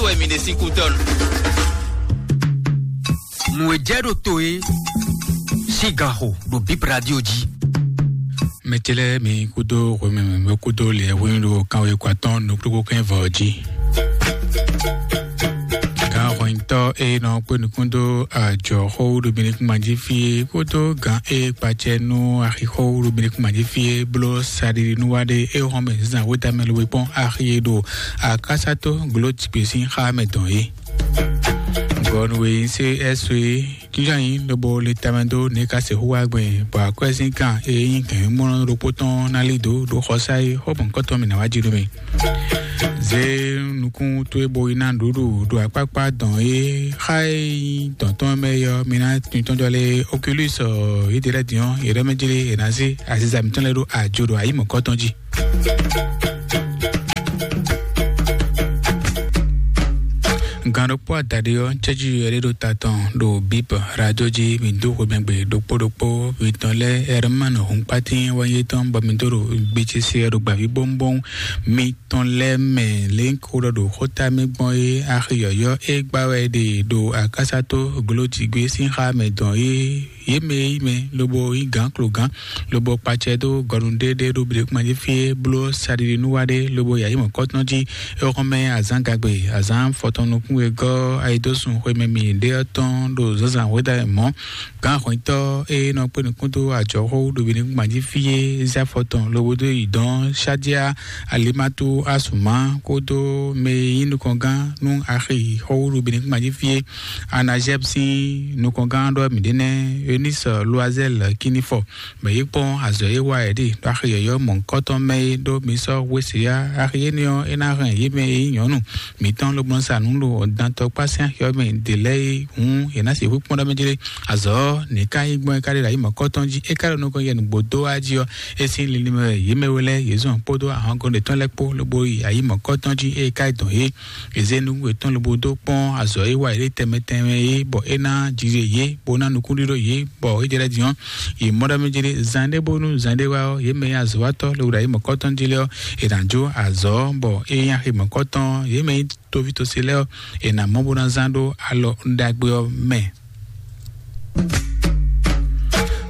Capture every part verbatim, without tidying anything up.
wɛ mi ɖe sín kútɔ́ nu. Nǔ e jɛ ɖo to e sín gan xo ɖo Bib Radio jí. Mɛtɛlɛ mi kúdó hwemɛ mɛ kúdó lɛ hwenu ɖo kanwe kɔ atɔn nukúkú kɛn vɔ jí. Gan hwɛntɔ e nɔ kpé nukún dó ajɔ xó ɖo mi ní kún ma jí fí é kódó gan e kpacɛ nú axixó ɖo mi ní kún ma jí fí é bló saɖiɖi nú wá ɖé é hɔn mɛ zizan wéta mɛ lobo kpɔ́n axi e ɖo akásátó gbló jigbe sín xá mɛ dɔn é. Gɔnu e nyí sé ɛ́ so é jínjɔ́n nyí lobo le tamɛ dó ní ka sixú wá gbɛn bɔ akwɛ́ sín kan e nyí gɛ̌nmɔ́ ɖokpó tɔn ná lí dǒ ɖo xɔsá é xó mɔ̌hunkɔtɔn mǐ ná wá jí nú mi. Zé nukún towe bo yi ná nǔɖuɖu ɖo akpákpá dɔn e xa e nyí dɔn tɔn mɛ é ɔ́, mi ná tintɔ́n jɔ lé Oculus ɔ́, yědɛɛ lɛ́ɛ din ɔ́, yě ɖɔ mɛ jlé è nǎ zé aziza mǐtɔn lɛ́ɛ ɖó ajo ɖo ayǐ mɔ̌kɔtɔn jí. Gan ɖokpó adaɖé ɔ́, cɛ́jú yɔ ɖé ɖo ta tɔn ɖo Bib Radio jí, mi dó xwemɛgbe ɖokpó ɖokpó, mi tɔn lɛ́ɛ Ɛrmán Hunkpatín wɛ yé tɔn bɔ mi dó ɖo gbécésé ɔ́ ɖo gbǎví bóŋbóŋ. Mi tɔn lɛ́ɛ mɛ lě ko ɖɔ ɖo xóta mɛ gbɔn é axi yɔ̌yɔ́ é gbá wɛ ɖe ɖo akásátó glójigbé sín xá mɛ dɔn é. Yě mɛ e yí mɛ lobo nyí gǎn klogán lobo kpacɛ dó gɔnu ɖéɖé ɖó bǐɖékúnmɛ jí fí é bló saɖiɖi nú wá ɖé lobo yǎ yi mɔ̌kɔtɔn jí. É xɔ́n mɛ azǎn gagbe, azǎn fɔtɔn nukún e gɔ́ ayidósun xwemɛ mi ɖé ɔ́ tɔn ɖo zǎnzǎn hwedá mɔ̌. Gǎn hwɛntɔ́ e nɔ kpé nukún dó ajɔxó ɖo bǐɖékúnmɛ jí fí é zé afɔ tɔn lobo dó yi dɔn Shadia Alimatu Asuma kódó mɛ e nyí nukɔngán nú axi xɔwúɖu bǐɖékúnmɛ jí fí é. Anazɛb sín nukɔngán ɖɔ mǐ ɖe nɛ́ Eunice Loisel Kinifɔ, mɛ yi kpɔ́n azɔ̌ e wa yě ɖi ɖo axi yɔ̌yɔ́ mɔ̌hunkɔtɔn mɛ é ɖó mi sɔ́ hweseyá. Axi énɛ́ ɔ́, é ná hɛn yě mɛ e nyí nyɔ̌nu mǐtɔn lobo nɔ sa nǔ ɖo dantɔkpá sín axi ɔ́ mɛ ɖě lɛ́ɛ é hǔn, yě ná sixú kpɔ́n ɖɔ mɛ jlé. Azɔ̌ nǐ ka nyí gbɔn é ka ɖe ɖo ayǐ mɔ̌kɔtɔn jí, é ka ɖo nukɔn yɛ nǔgbó dó wá jí ɔ́, é sín linlin mɛ wɛ yě mɛ we lɛ́ɛ yě zɔn kpódó ahɔngɔn ɖětɔn lɛ́ɛ kpó lobo yi ayǐ mɔ̌kɔtɔn jí, é ka yi dɔn yě. È zé nukún yětɔn lobo dó kpɔ́n azɔ̌ e wa yě ɖe tɛnmɛ tɛnmɛ é, bɔ é ná jijɛ yě, bó ná nukúnɖíɖó yě, bɔ é jɛ lɛ́ din ɔ́, yě mɔ ɖɔ mɛ jɛ ɖe zan ɖé bónú zan ɖé wá ɔ́, yě mɛ nyí azɔ̌watɔ́ lobo ɖo ayǐ mɔ̌kɔtɔn jí lɛ́ɛ ɔ́, è nǎ jó azɔ̌, bɔ é nyí axi mɔ̌kɔtɔn, yě mɛ nyí toví tosí lɛ́ɛ ɔ́, è nǎ mɔ bó ná zán ɖó alɔ ɖagbe ɔ́ mɛ.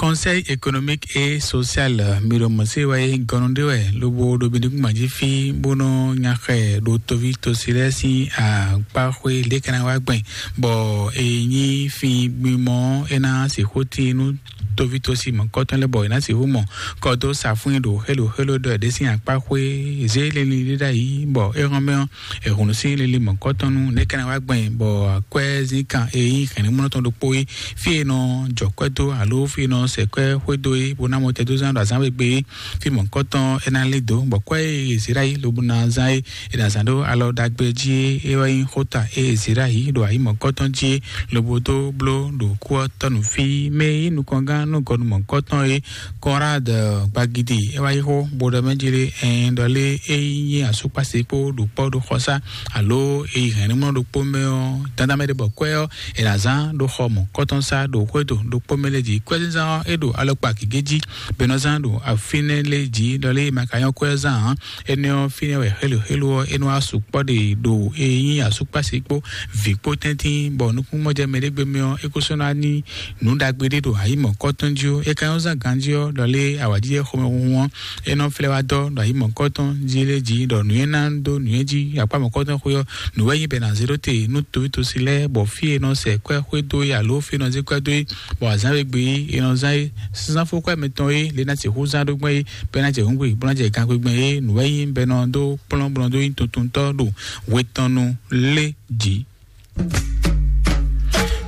Conseil économique et social, mi ɖo mɔ̌ se wɛ é gɔnu ɖé wɛ lobo ɖo mi ɖíkúngban jí fí bó nɔ nya xɛ ɖo toví tosí lɛ́ɛ sín akpáxwé lě ká ná wá gbɛn, bɔ è nyí fí gbimɔ é ná sixú tín nú toví tosí mɔ̌kɔtɔn lɛ́ɛ bɔ è nǎ sixú mɔ kɔ dó safún ɖo xélo xélo ɖɔ è ɖe sín akpáxwé zé lili ɖé ɖ'ayǐ, bɔ é hɔn mɛ ɔ́, è hun nǔ sín lili mɔ̌kɔtɔn nú nɛ̌ ká ná wá gbɛn, bɔ akwɛ́ zínkan e nyí hɛ̌nnumlɔ́tɔn ɖokpó é, fí e nɔ jɔ kwɛ́ dó alo fí e nɔ sɛ kwɛ́ xwé dó é, bó ná mɔ tɛdózán ɖo azǎn we gbe é, fí mɔ̌kɔtɔn é ná lí dǒ, bɔ kwɛ́ e è zě ɖ'ayǐ lobo ná zán é, è nǎ zán ɖó alɔ ɖagbe jí é, é wɛ nyí xóta e è zě ɖ'ayǐ ɖo ayǐ mɔ̌kɔtɔn jí é, lobo dó bló ɖo kú ɔ́ tɔ́ nú fí mɛ e nyí nukɔngán nú gɔnu mɔ̌kɔtɔn é, Conrad Gbagidi, é wá yi xó bó ɖɔ mɛ jí lé, ɛn ɖɔ lé é nyí asúkpási kpó ɖo kpɔ́ ɖo xɔsá alo é yi hɛ̌nnumlɔ ɖokpó mɛ ɔ́, dandan mɛ ɖé bɔ kwɛ́ ɔ́, è nǎ zán ɖo xɔ mɔ̌kɔtɔn sá ɖo xwédo ɖokpó mɛ lé jí. Kwɛ́zínzán ɔ́, é ɖo alɔkpa gěgé jí, bɛnɔzán ɖo afínɛ́ lé jí, ɖɔ lé è ma ka nyɔ́ kwɛ́ ɔ́ zán ǎ. Énɛ́ ɔ́, fínɛ́ wɛ xélo xélo ɔ́, é nɔ wá sukpɔ́ ɖe ɖo é nyí asúkpási kpó vǐ kpó tɛ́ntin, bɔ nukúnmɔjɛmɛ ɖé gbe mɛ ɔ́, é ko sɔ́ ná ní nǔ ɖagbe ɖé ɖo ayǐ mɔ̌kɔtɔn jí ó. É ka nyɔ́ zán ganjí ɔ́, ɖɔ lé awǎjijɛ xomɛhunhun ɔ́, é nɔ flɛ́ wá dɔ́ ɖo ayǐ mɔ̌kɔtɔn jí lé jí, ɖɔ nǔ e ná dó nǔ e jí akpá mɔ̌kɔtɔn xwe ɔ́, nǔ wɛ nyí bɛ è nǎ zé ɖó te nú toví tosi lɛ́ɛ, bɔ fí e nɔ sɛ kwɛ́ xwé dó é alo fí e nɔ zé kwɛ́ dó é, bɔ azǎn e gbe é, è nɔ zán é, zán fó kwɛ́ mɛtɔn é, lě ná sixú zán ɖó gbɔn é, bɔ é ná jɛ hǔngbe, bó ná jɛ gangbé gbɔn é, nǔ wɛ nyí bɛ nɔ dó kplɔ́n bó nɔ dó nyí tuntuntɔ́ ɖo hwe tɔn nu lé jí.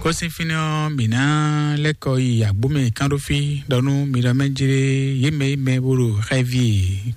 Kɔsin fínɛ́ ɔ́, mǐ ná lɛ́ kɔ yi agbómɛ kán ɖó fí ɖɔ nú mi ɖɔ mɛ jlé yě mɛ yě mɛ bó ɖo xɛvi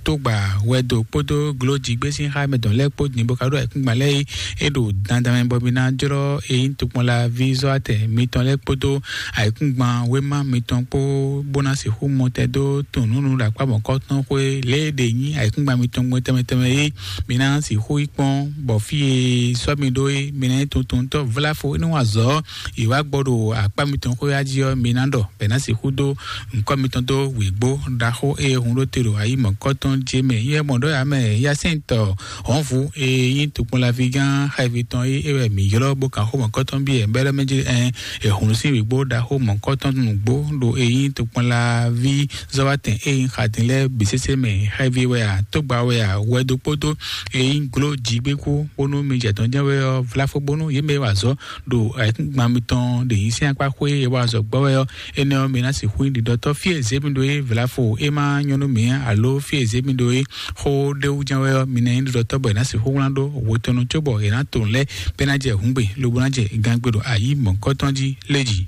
tógbà wɛdo kpódó glójigbé sín xá mɛ dɔn lɛ́ɛ kpó din bó ka ɖó ayǐkúngban lɛ́ɛ é, é ɖo dandan mɛ bɔ mi ná jlɔ́ eyín tokpɔnla ví zɔ́ atɛ mitɔn lɛ́ɛ kpódó ayǐkúngban wéma mitɔn kpó bó ná sixú mɔtɛn dó tunǔnúnu ɖo akpá mɔ̌kɔtɔn xwé lě e ɖe nyí ayǐkúngban mitɔn gbɔn tɛnmɛ tɛnmɛ é. Mi ná sixú yi kpɔ́n bɔ fí e sɔ́ mi ɖó é, mi ná nyí tuntuntɔ́ vláfo é nɔ wa azɔ̌ Yě wá gbɔ ɖo akpá mitɔn xwé wá jí ɔ́, mi ná ɖɔ bɔ è nǎ sixú dó ŋkɔ́ mitɔn dó wěgbó ɖaxó e hun ɖó te ɖo ayi mɔ̌kɔtɔn ce mɛ. Yɛ mɔ ɖɔ yǎ mɛ yasɛntɔ hɔnvu e nyí tokpɔnlaví gán xavi tɔn é, é wɛ mǐ ylɔ́ bó kan xó mɔ̌kɔtɔn byɔ́ ɛ bɛ́ ɖɔ mɛ jí ɛ, è hun sín wěgbó ɖaxó mɔ̌kɔtɔn nǔgbó ɖo e nyí tokpɔnlaví zɔ́watɛn e nyí xadin lɛ́ɛ bǐ sésé mɛ. Xavi wɛ a, tógba wɛ a, wɛdo kpódó e nyí gló jigbékú bónú mi jɛ dɔn jɛ́n wɛ ɔ́, vláfó bónú yě mɛ wa azɔ̌ ɖo ayǐkúngban mitɔn ɖe nyí sín akpá xwé e wa azɔ̌ gbɔ wɛ ɔ́, énɛ́ ɔ́, mi ná sixú nyí ɖiɖɔtɔ́. Fí e zě mi ɖó é, vlafo e ma nyɔ́ nú mǐ ǎ, aló fí e zě mi ɖó é, xó ɖé wú jɛ́n wɛ ɔ́, mi ná nyí ɖiɖɔtɔ́ bɔ è nǎ sixú wlán ɖó hwetɔnu cóbɔ è nǎ to nǔ lɛ́ɛ bɔ é ná jɛ hǔngbe lobo ná jɛ gangbe ɖo ayi mɔ̌kɔtɔn jí lé jí.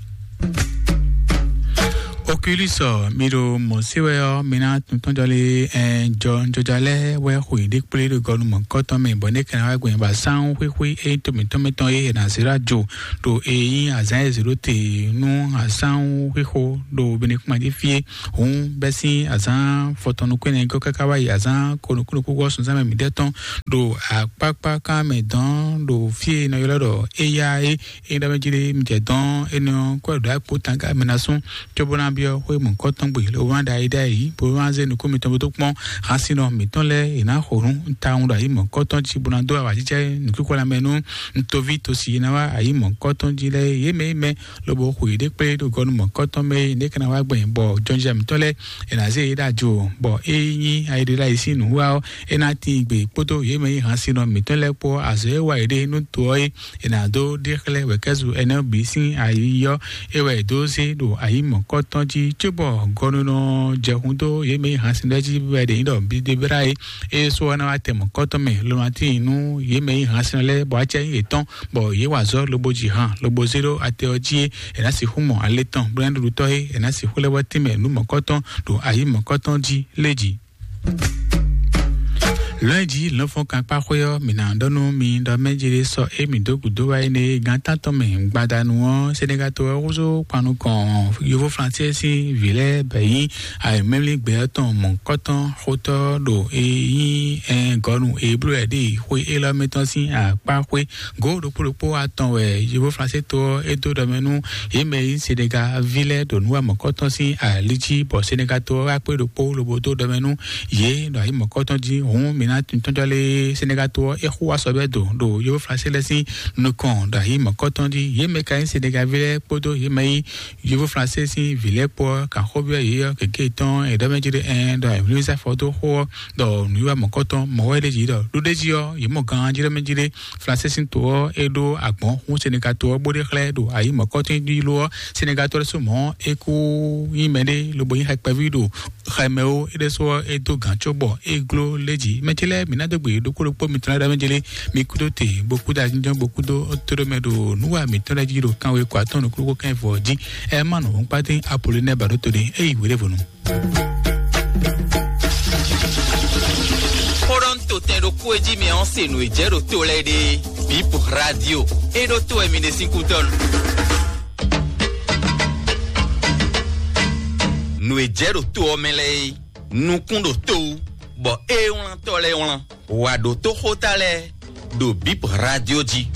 Oculus, mi ɖo mɔ̌ se wɛ ɔ́, mi ná tuntɔ́n jɔ lé ɛ jɔ jɔja lɛ́ɛ wɛ xwe ɖé kplé ɖo gɔnu mɔ̌kɔtɔn mɛ, bɔ ní kɛnɛ wá gbɛn ba sán xwíxwí e nyí to mǐtɔn mɛ tɔn e è nǎ zé ɖó ajo ɖo e nyí azǎn e zě ɖó te nú asán xwíxo ɖo Benekuma jí fí é. Hǔn bɛ́ sín azǎn fɔtɔn nukún ɛnɛ gɔ́ káká wá yi azǎn ko nukúnnukún gɔ́ sunzán mɛ mǐdɛɛ tɔn ɖo akpákpá kan mɛ dɔn ɖo fí e è nɔ ylɔ́ ɖɔ éyá é. Ényí ɖɔ mɛ jí ɖé mi jɛ dɔn énɛ́ ɔ́, kó ɖɔ akpo tanga mɛ ná sún, cóbó ná byɔ́ xwé mɔ̌kɔtɔn gbe, lobo ná ɖo ayi ɖ'ayǐ, bó ná zé nukún mitɔn bó dó kpɔ́n. Hansinɔ mǐtɔn lɛ́ɛ è nǎ xo nǔ tawun ɖo ayi mɔ̌kɔtɔn jí, bó ná dó awǎjijɛ nǔkíkɔ́ lanmɛ nú un toví tosi e ná wá ayi mɔ̌kɔtɔn jí lɛ́ɛ. Yě mɛ e mɛ lobo xo yěɖée kplé ɖo gɔnu mɔ̌kɔtɔn mɛ é, nɛ̌ ka ná wá gbɛn bɔ jɔnjɔ́ mǐtɔn lɛ́ɛ è nǎ zé yě ɖo ajo, bɔ é nyí ayi ɖé ɖ'ayǐ sín nǔwiwa ɔ́, é ná tíin gbe kpódó yě mɛ e nyí hansinɔ mǐtɔn lɛ́ɛ kpó azɔ̌ e wa yě ɖe nú to ɔ́ é. È nǎ dó ɖe xlɛ́ wɛ̌kɛ́zu ɛnɛ ɔ́ bǐ sín ayi ɔ́, é wɛ è dó zé ɖo ayi mɔ̌kɔtɔn jí, cóbɔ gɔnunɔ jɛ hun dó yě mɛ e nyí hansin lɛ́ɛ jí wɛ ɖě nyí ɖɔ Bidebra é. É sɔ́ ɔ́ ná wá tɛ mɔ̌kɔtɔn mɛ, lomatín nú yě mɛ e nyí hansin lɛ́ɛ, bɔ acɛ nyí yětɔn, bɔ yě wa azɔ̌ lobo ji han lobo zé ɖó ate ɔ́ jí é. È nǎ sixú mɔ alé tɔn, bó ná ɖuɖutɔ́ é, è nǎ sixú lɛ́ wɛ́ tínmɛ nǔ mɔ̌kɔtɔn ɖo ayi mɔ̌kɔtɔn jí lé jí. Lɔ̌nyijǐ lɔ̌nfɔ́n kankpáxwé ɔ́, mǐ ná ɖɔ nú mi ɖɔ mɛ jí ɖé sɔ émí dó gǔdo wá énɛ́ gán tántɔn mɛ gbadanu ɔ́, Senegal to ɔ́ húzú kpan nukɔn Yovo Flansé sín vǐ lɛ́ɛ bɛ nyí ayǐmɛ́mlí gbɛ ɔ́ tɔn mɔ̌kɔtɔn xótɔ́ ɖo e nyí gɔnu Eblu wɛ ɖi xwé élɔ́ mɛ tɔn sín akpá xwé. Gǒ ɖokpó ɖokpó atɔn wɛ Yovo Flansé to ɔ́ é dó ɖɔ mɛ nú yě mɛ e nyí Senegal ví lɛ́ɛ ɖo nǔ wa mɔ̌kɔtɔn sín ali jí, bɔ Senegal to ɔ́ wá kpé ɖokpó lobo dó ɖɔ mɛ nú yě ɖo ayǐ mɔ̌kɔtɔn jí. Hǔn mǐ ná tɔ́njɔ́ lé Senegal to ɔ́ é xú wá sɔ bɛ́ do ɖo Yovo Flansé lɛ́ɛ sín nukɔn ɖo ayǐ mɔ̌kɔtɔn jí. Yě mɛ ka nyí Senegal ví lɛ́ɛ kpódó yě mɛ nyí Yovo Flansé sín vǐ lɛ́ɛ kpó ɔ́, kan xó byɔ́ yě ɔ́, gěgé tɔn è ɖɔ mɛ jí ɖé ɛn ɖɔ ayǐmlúmísá fɔ dó xó ɔ́, ɖɔ nǔwiwa mɔ̌kɔtɔn mɔ̌ wɛ ɖ'é jí ɖɔ ɖó ɖ'é jí ɔ́, yě mɔ gan jí ɖɔ mɛ jí ɖé Flansé sín to ɔ́ é ɖó agbɔ̌n hún Senegal to ɔ́ bó ɖe xlɛ́ ɖo ayǐ mɔ̌kɔtɔn jí lo ɔ́, Senegal to ɔ́ ɖésú mɔ̌ é kú nyí mɛɖé lobo nyí xɛkpɛví ɖo xɛmɛ ó. É ɖésú ɔ́ é dó gǎn có bɔ é gló lé jí. Mɛ ce lɛ́ɛ mǐ ná dó gbe ɖokpó ɖokpó mitɔn lɛ́ɛ ɖɔ mɛ jélé mi kúdó te bó kúdó ajínjɔ́n bó kúdó tóɖó mɛ ɖo nǔwa mǐtɔn lɛ́ɛ jí ɖo kanwe kɔ atɔ́ nukúnnú kɛ́n vɔ jí. Ɛ má nɔ hɔn kpátín Apolonɛ ba ɖó to ɖe é yi wěɖévɔnu. Xó ɖɔ un to tɛn ɖokpó e jí mi ɔ́ se nǔ e jɛ ɖo to lɛ́ɛ ɖe. Bip Radio. É ɖó to wɛ mi ɖe sín kútɔ́ nu. Nǔ e jɛ ɖo to ɔ́ mɛ lɛ́ɛ é, nukún ɖo to wú, bɔ é wlán tɔ́ lɛ́ɛ wlán. Wǎ ɖó tó xóta lɛ́ɛ ɖo Bip Radio jí.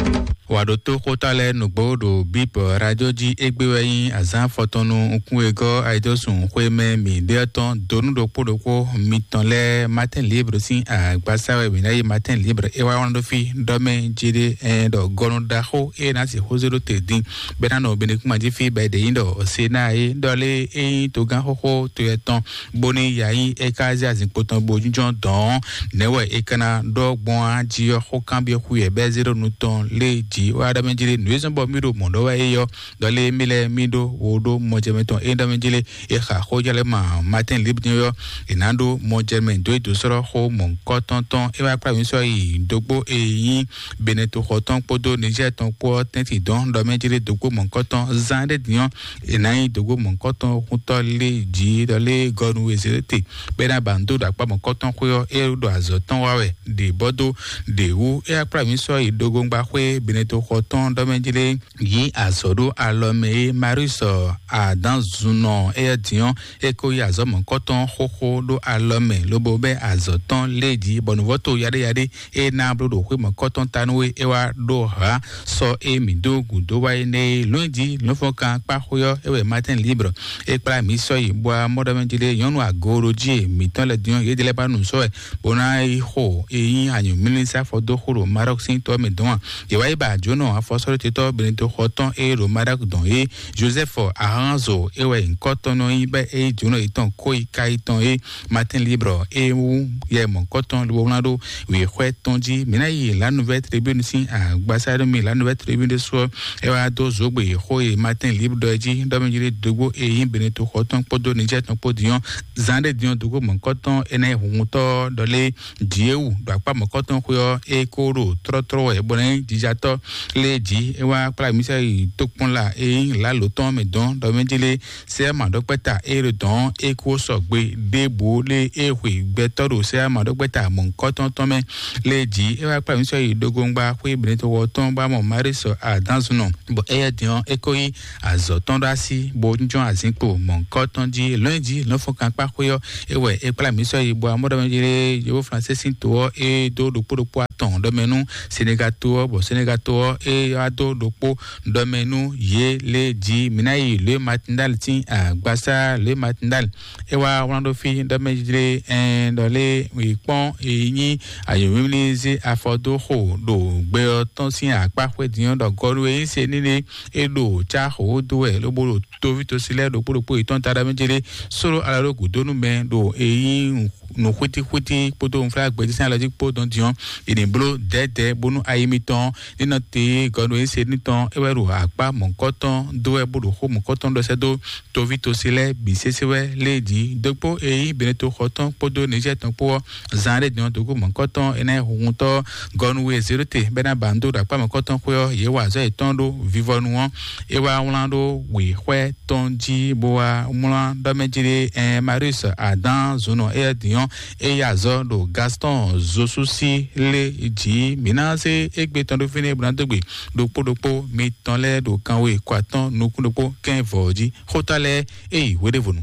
Wǎ ɖó tó xóta lɛ́ɛ nǔgbó ɖo Bip Radio jí. Égbé wɛ nyí azǎn fɔtɔnnu nukún e gɔ́ ayidosùn xwé mɛ mǐ ɖe ɔ́ tɔn donu ɖokpó ɖokpó mitɔn lɛ́ɛ. Matin Libre sín agbasa wɛ mǐ ná yi. Matin Libre é wá wlán ɖó fí ɖɔ mɛ jí ɖé ɛ ɖɔ gɔnu ɖaxó é ná sixú zé ɖó te dín bɛ ná nɔ Benekuma jí fí bɛ ɖe nyí ɖɔ Sena é ɖɔ lé é nyí togán xóxó to yɛ tɔn bóní ya nyí é ká zé azinkpo tɔn bo jínjɔ́n dɔ̌n. Nɛ̌ wɛ é ka ná ɖɔ gbɔn á jí ɔ́? Xó kanbyɔ́ xú yɛ bɛ́ zé ɖó nu tɔn lé jí wá ɖɔ mɛ jí lé nǔ e zɔ́n bɔ mí ɖo mɔ̌ ɖɔ wɛ é yɔ ɖɔ lé mí lɛ́ɛ mí ɖó wo ɖó mɔjɛmɛ tɔn é ɖɔ mɛ jí lé. É xa xó jɛ lɛ́ ma Matin Libre ɔ́, è nǎ ɖó mɔjɛmɛ dó é dǒ sɔ́ xó mɔ̌hunkɔtɔn tɔn. É wá kplá mǐ sɔ́ yi dógbó e nyí Benin toxɔ tɔn kpódó Niger tɔn kpó ɔ́ tɛ́ntin dɔn ɖɔ mɛ jí lé dógbó mɔ̌hunkɔtɔn zán ɖé din ɔ́, è nǎ nyí dǒgbó mɔ̌hunkɔtɔn xúntɔ́ lé jǐ ɖɔ lé gɔnu e zě te bɔ é ná ba nǔ dó ɖo akpá mɔ̌kɔtɔn xwé ɔ́, é ɖo azɔ̌ tɔn wa wɛ ɖě bɔ dó ɖě wú. É wá kplá mǐ sɔ́ yi ɖogóngba xwé Benin toxɔ tɔn ɖɔ mɛ jlé yí azɔ̌ ɖó alɔ mɛ é. Marius Adanzunɔ éyɛ́ din ɔ́, é ko yí azɔ̌ mɔ̌kɔtɔn xóxó ɖó alɔ mɛ lobo bɛ́ azɔ̌ tɔn lé jí bɔ nǔvɔ́to yaɖéyaɖé é ná bló ɖo xwé mɔ̌kɔtɔn ta nú é, é wá ɖó hǎ sɔ é mǐ dó gǔdo wá é nɛ́ é. Lɔ̌nyijǐ lɔ̌nfɔ́nkan kpá xwé ɔ́, é wɛ Martin Libre é kplá mǐ sɔ́ yi bɔ amɔ́ ɖɔ mɛ jí lé nyɔ̌nu agooɖojí e mǐtɔn lɛ́ɛ din ɔ́, yě dɛ lɛ́ɛ ba nǔ sɔ́ wɛ bó ná yi xo e nyí anyǔmlísá fɔ dó xo ɖo Maroc sín tɔ mɛ dɔn a? Yě wá yi ba jǒnɔ afɔsɔ́ɖótetɔ́ Benedikto xɔ tɔn e ɖo Maroc dɔn é, Joseph Aranzo é wɛ nyǐkɔ tɔn nɔ nyí bɔ é yí jǒnɔ yětɔn kó yi ka yětɔn é. Martin Libre é wú yɛ mɔ̌kɔtɔn lobo wlán ɖó wěxwɛ́ tɔn jí. Mǐ ná yi La Nouvelle Tribune sín agbasá ɖo mi La Nouvelle Tribune ɖésú ɔ́, é wá dó zǒgbè xó e Martin Libre ɖɔ é jí ɖɔ mɛ jí ɖé dógbó e nyí Benedikto xɔ tɔn kpódó Niger tɔn kpó din ɔ́, zan ɖé din ɔ́ dógó mɔ̌kɔtɔn énɛ́ hunhuntɔ́ ɖɔ lé Dieu ɖo akpá mɔ̌kɔtɔn xwé ɔ́, é kó ɖo tlɔ́tlɔ́ wɛ bɔ ná nyí jijatɔ́ lé jí. É wá kplá mǐ sɛ yi tokpɔnla e nyí lǎlo tɔn mɛ dɔn ɖɔ mɛ jí lé sɛ́ maɖɔkpɛ́ta e ɖo dɔ̌n é kó sɔgbe ɖěbǔ lé é hwe gbɛtɔ́ ɖo sɛ́ maɖɔkpɛ́ta mɔ̌hunkɔtɔn tɔn mɛ lé jí. É wá kplá mǐ sɔ́ yi ɖogongba xwé Benedikto tɔn bó wá mɔ Maríus Adánzunɔ, bɔ éyɛ́ din ɔ́, é kó yí azɔ̌ tɔn ɖó así bó jɔ́n azǐnkpo mɔ̌hunkɔtɔn jí. Lɔ̌nyijǐ lɔ̌nfɔnkankpá xwé ɔ́, é wɛ é kplá mǐ sɔ́ yi bó wá mɔ ɖɔ mɛ jí lé Yovóflansé sín to ɔ́, é dó ɖokpó ɖokpó atɔn ɖɔ mɛ nú Senegal to ɔ́, bɔ Senegal to ɔ́, é wá dó ɖokpó ɖɔ mɛ nú yě lé jí. Mǐ ná yi Louis Matindal sín agbasá. Louis Matindal é wá wlán ɖó fí ɖɔ mɛ jlé ɛn ɖɔ lé wǐ kpɔ́n e nyí ayǒmímlí zé afɔ dó xo ɖo gbɛ ɔ́ tɔn sín akpá xwé din ɔ́ ɖɔ gɔ́ɖó e nyí se nílé é ɖo cá xo dó wɛ lobo ɖo toví tosi lɛ́ɛ ɖokpó ɖokpó yětɔn ta ɖɔ mɛ jlé sóɖó alɔ ɖó gǔdo nú mɛ ɖo e nyí nǔ xwítíxwítí kpódó nǔflágbɛjí sín alɔ jí kpó dɔn din ɔ́, è nǐ bló dɛ̌dɛ̌ bónú ayi mitɔn ní nɔ te gɔnu e se ní tɔn é wɛ ɖo akpá mɔ̌kɔtɔn dó wɛ bó ɖo xó mɔ̌kɔtɔn ɖɔ sɛ́ dó toví tosi lɛ́ɛ bǐ sésé wɛ lé jí dókpó e nyí Beneto xɔ tɔn kpódó Nizɛ́ɛ tɔn kpó ɔ́, zan ɖé din ɔ́ dógó mɔ̌kɔtɔn énɛ́ huhuntɔ́ gɔnu e Zelote bɛ́ ná ba nǔ dó ɖo akpá mɔ̌kɔtɔn xwé ɔ́, yě wa azɔ̌ yětɔn ɖó vivɔnu ɔ́. É wá wlán ɖó wěxwɛ́ tɔn jí bó wá wlán ɖɔ mɛ jí ɖé ɛn Marius Adán zunɔ éyɛ́ din ɔ́, é yí azɔ̌ ɖo Gaston Zosusi lé jí. Mǐ ná zé égbé tɔn ɖó fínɛ́ bó ná dó gbe ɖokpó ɖokpó mitɔn lɛ́ɛ ɖo kanwe kɔ atɔ́ɔ́n nukún ɖokpó kɛ́n vɔ̌ jí. Xóta lɛ́ɛ é yi hweɖévonu.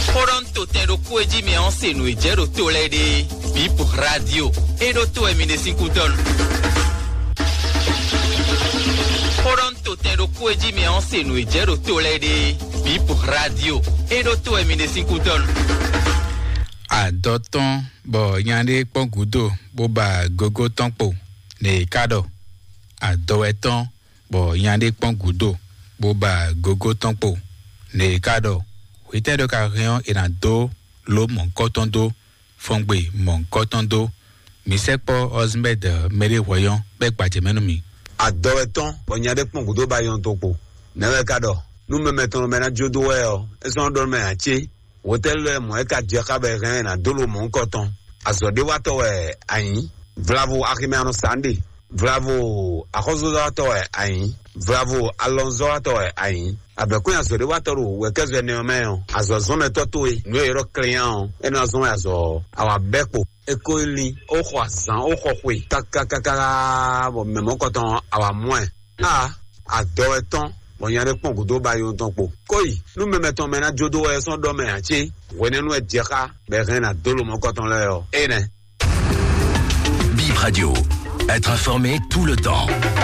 Xó ɖɔ ń to tɛn ɖokpó e jí mɛ ɔ́ se nǔ e jɛ ɖo to lɛ́ɛ ɖe. Bip Radio é ɖó to wɛ mi ɖe sín kútɔ́nu. Xó ɖɔ ń to tɛn ɖokpó e jí mɛ ɔ́ se nǔ e jɛ ɖo to lɛ́ɛ ɖe. Bip Radio é ɖó to wɛ mi ɖe sín kútɔ́nu. Adɔ tɔn bɔ nya ɖé kpɔ́n gǔdo bó ba gogo tɔn kpo, nɛ è ká ɖɔ adɔ wɛ tɔn bɔ nya ɖé kpɔ́n gǔdo bó ba gogo tɔn kpo, nɛ è ká ɖɔ hwetɛ́ ɖɔ ka hɛn ɔ́ è nǎ dó lǒ mɔ̌hunkɔtɔn dó, fɔngbe mɔ̌hunkɔtɔn dó. Mǐ sɛkpɔ́ Ɔzimɛ́d mɛɖé hwɛyɔ́n bɔ é gbajɛ mɛ nú mì. Adɔ wɛ tɔn bɔ nya ɖé kpɔ́n gǔdo ba yɔn tɔn kpo, nɛ̌ wɛ ka ɖɔ nú mɛ mɛtɔn mɛ ná jó dó wɛ ɔ́, é sɔ́ nɔ ɖɔ nú mɛ ǎ cé? Hotɛ́li lɛ́ɛ mɔ̌ é ka jɛ xá bɔ è hɛn ɛ ná dó lo mɔ̌hunkɔtɔn. Azɔ̌ɖéwatɔ́ wɛ a nyǐ. Vlavo aximɛ a nɔ sa nǔ ɖe. Vlavo axɔ́súzɔ́watɔ́ wɛ a nyǐ. Vlavo alɔnzɔ́watɔ́ wɛ a nyǐ. Abɛ̌kún azɔ̌ɖéwatɔ́ ɖo wɛ̌kɛ́zɔ ɛnɛ ɔ́ mɛ ɔ́, azɔ̌zɔ́nnɛtɔ́ towe nǔ e è ylɔ́ klɛ́nyá ɔ́, é nɔ zɔ́n wɛ azɔ̌ ɔ́, a wǎ bɛ́ kpo. É ko yi lin, ó xɔ azǎn, ó xɔ xwe kákákáká, bɔ mɛ mɔ̌kɔtɔn ɔ́, a wǎ mɔ ɛ. A adɔ wɛ tɔn bɔ nya ɖé kpɔ́n gǔdo ba yi tɔn kpo. Kóyi nú mɛ mɛtɔn mɛ ná jó dó wɛ sɔ́ ɖɔ mɛ ǎ cé? Hwenɛ́nu wɛ jɛ xá bɔ è hɛn ná dó lo mɔ̌kɔtɔn lɛ́ɛ ɔ́. Énɛ́. Bip Radio, être informé tout le temps.